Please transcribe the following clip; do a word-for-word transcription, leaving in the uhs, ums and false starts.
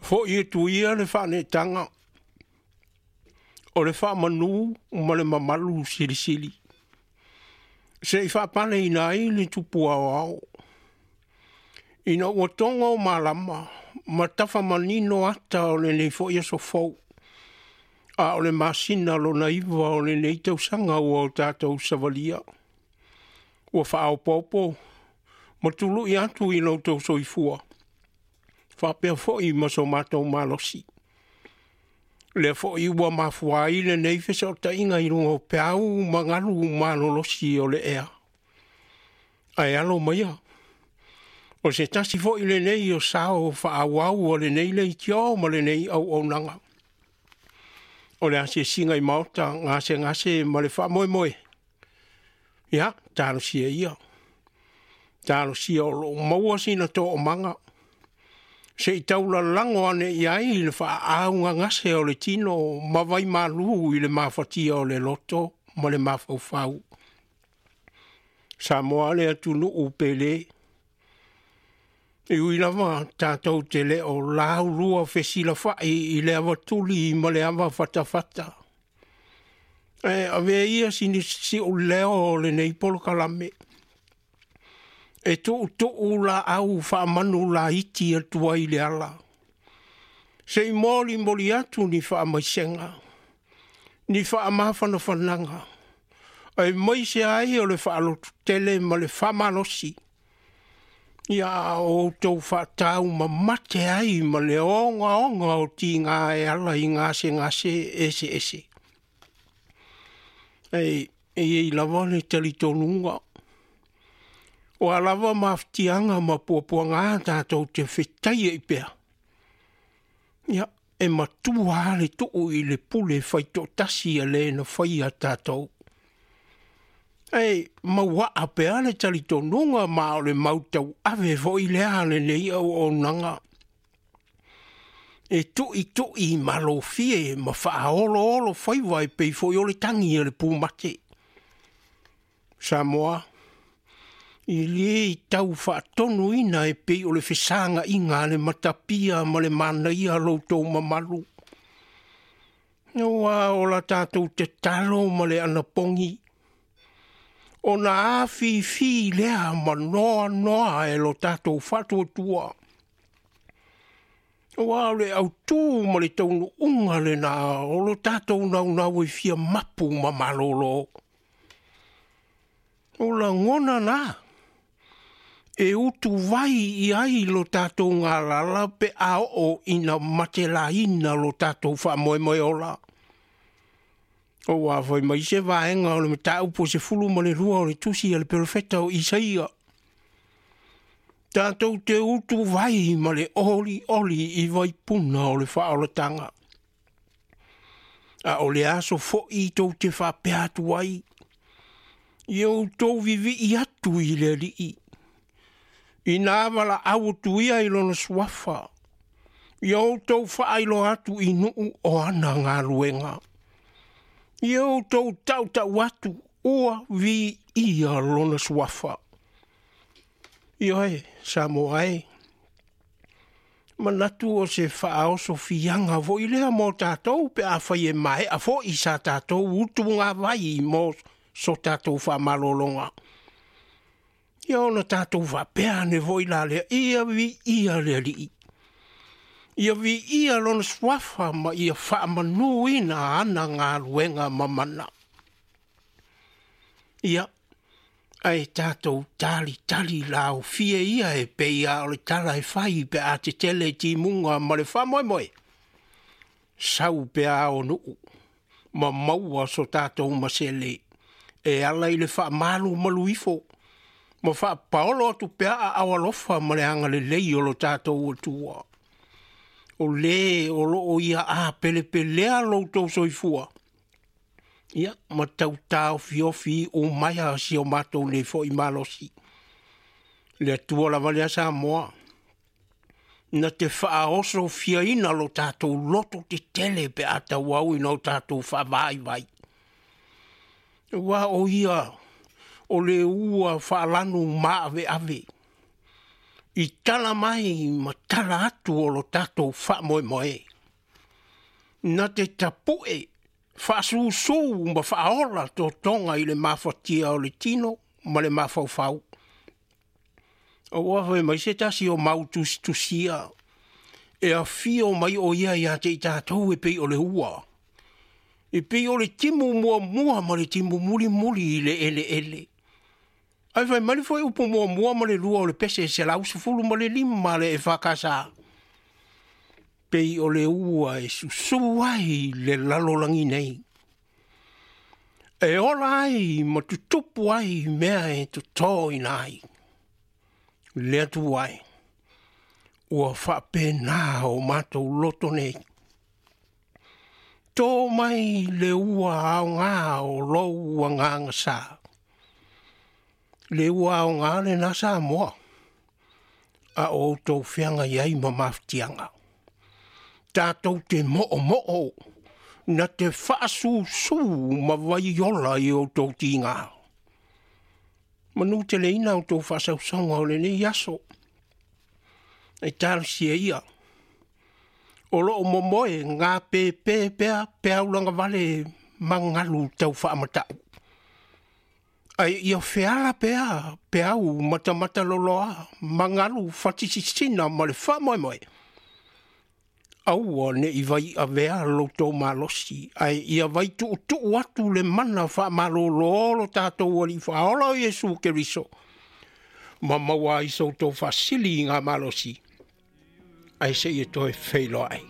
Fo'i atu ia le faaneetaga o le faamanu ma le mamalu silisili, se'i faapaleina ai le tupu aoao, ina ua togo malama ma tafamanino ata o lenei foi aso fou, a o le masina lona iva o lenei tausaga ua o tatou savalia, ua faaopoopo ma tului atu i lo outou soifua faapea foi ma so matou malosi. Lea foi ua mafua ai lenei fesootaiga i luga o peau ma galu malolosi o le ea. Ae alo maia, o se tasi foi lenei o sao faaauau o lenei leitio ma lenei auaunaga. O le asiasiga i maota, gasegase ma le faamoemoe, ia, talosia ia. Talosia o lo o maua sina toomaga se i taulalago ane i ai le faaaaogagase o le tino ma vaimalu i le mafatia o le loto ma le mafaufau. Samoa le atunuu pele, e ui lava tatou te le o laulua fesilafai i le avatuli ma le avafatafata, ae avea ia si ou leo o lenei polokalame e tuutuu laau faamanu laiti atu ai i le ala, se i molimoli atu ni faamaisega, ni faamafanafanaga, aemaise ai o le faalototele ma le faamalosi, ia a o outou faataumamate ai ma le ogaoga o tiga e ala i gasegase eseese. E i ai lava le talitonuga, o a lava mafatiaga ma puapuaga tatou te fetaiai pea, ia, e matua lava le tuu i le pule faitoatasi a le na faia tatou. Ae mauaa pea le talitonuga ma o le mau tauave foi lea a lenei auaunaga, e tuitui malofie ma faaoloolo faiva e pei foi o le tagi a le pumate. Samoa, e lē tau faatonuina e pei o le fesaga'iga a le matapia ma le manaia lo outou mamalu. Aua o la tatou tatalo ma le anapogi, ona afifi lea ma noanoa e lo tatou faatuatua. Aua o le autū ma le taunuuga lena o lo tatou naunau e fia mapu ma malolo. O lagona na, e utuvai i ai lo tatou galala pe a oo ina matelaina lo tatou faamoemoe ola. Aua fai mai se vaega o le mataupu sefulu ma le lua o le tusi a le perofeta o Isaia, tatou te utuvai ma le olioli i vaipuna o le faaolataga. A o le aso foi tou te faapea atu ai, ia outou vivii atu i le Alii, ina valaau atu ia i lona suafa, ia outou faailoa atu i nuu o ana galuega. Ia outou tautau atu ua viia lona suafa. Ioe, Samoa e, manatu o se faaosofiaga foi lea mo tatou pe afai e maea foi sa tatou utugavai mo so tatou faamalologa. Ia ona tatou faapea ane foi la lea, ia viia le Alii, ia viia lona suafa ma ia faamanuina ana galuega mamana. Ia, ae tatou talitali laofie ia e pei lava o le tala e fai pe a tetele timuga ma le faamoemoe, sau pea ao nuu ma maua so tatou masele e ala i le faamalumalu ifo ma faapaolo atu pea aao alofa ma le agalelei o lo tatou Atua. O lē o loo ia apelepelea lo outou soifua, ia ma tautaofiofi umaia si o matou nei foi malosi. Le Atua lava lea Samoa, na te faaosofiaina lo tatou loto tetele pe a tauau ina o tatou faavaivai. Aua o ia o le ua faalanu maaveave, I tala mai ma tala atu o lo tatou faamoemoe. Na te tapu'e faasusū ma faaola totoga i le mafatia o le tino ma le mafaufau. Aua fai mai se tasi o mau tusitusia e afio mai o ia ia te i tatou e pei o le ua. E pei o le timu muamua ma le timu mulimuli i le eleele. Ae fai mai le fuaiupu muamua ma le lua o le pese selau sefulu ma le lima le E F K S. Pei o le ua e susū ai le lalolagi nei. E ola ai ma tutupu ai mea e totoina ai. Le Atua e, ua faapena o matou loto nei. Tō mai le ua aogā o lou agaga sa. Le ua aogā lena Samoa. A o outou feagai ai ma mafatiaga. Tatou te mo'omo'o na te faasusū ma vaiola i outou tigā. Manuteleina outou faasausauga o lenei aso. E talosia ia. O loo momoe ngā pēpē pea peau lagavale ma galu tau faamata'u. Ae ia feala pea peau matamataloloa ma galu fatisisina ma le faamoemoe. Aua ne i vai avea loutou malosi, ae ia vai tuutuu atu le mana faamalōlō lo tatou Alii Faaola o Iesu Keriso. Ma maua ai so outou faasili i ngā malosi. Ae seia toe feiloai.